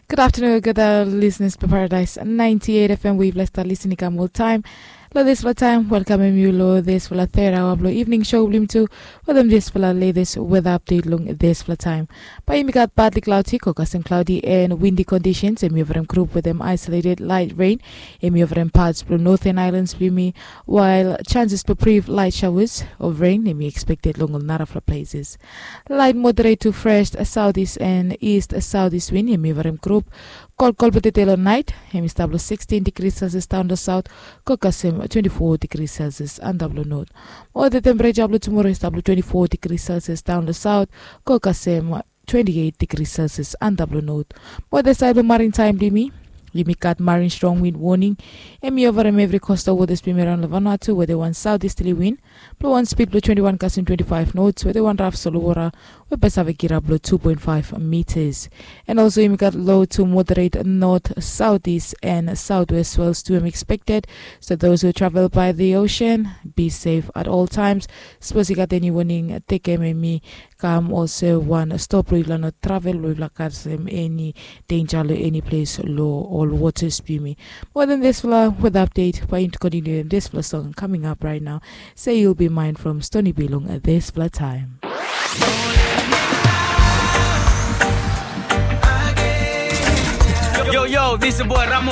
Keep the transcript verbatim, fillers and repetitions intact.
Gud aftanun olgeta lisenas blong Paradise ninety eight F M we yufala stap lisin i kam oltaem. Long disfala taem welkamem yu long disfala third hour blong evening show blong yumi tu wetem disfala latest weather update long disfala taem. Bae yumi gat partly cloudy ko kasem cloudy and windy conditions, em i oferem group wetem isolated light rain. Em i oferem parts blong northern islands blong yumi, while chances blong brief light showers of rain em i expected long ol narafala places. Light moderate to fresh southeast and east southeast wind em i oferem group. Kolkol blong tete long nait em i stap long sixteen degrees Celsius daon long south, ko kasem twenty-four degrees Celsius antap long north. Mo the temperature blong tumora i stap long twenty-four degrees Celsius daon long south, ko kasem twenty-eight degrees Celsius antap long north. Mo the side blong marine time blong yumi, yumi gat marine strong wind warning. Em i oferem evri coastal waters blong yumi araon long Vanuatu wetem wan southeasterly wind blong wan speed blong twenty-one kasem twenty-five knots wetem wan raf solowora we bae save kirap long two point five meters. And also yumi gat low to moderate north, southeast and southwest swells tu em expected. So those who travel by the ocean, be safe at all times. Sapos i gat eni warning, tekem em i kam olsem wan stop blong yufala no travel blong yufala kasem eni denja long eni ples long ol waters blong yumi. Mo then disfala weather update bae yumi kontiniu wetem disfala song coming up right now. Say You'll Be Mine from Stony B long disfala taem. Yo, yo, this is boy Ramo.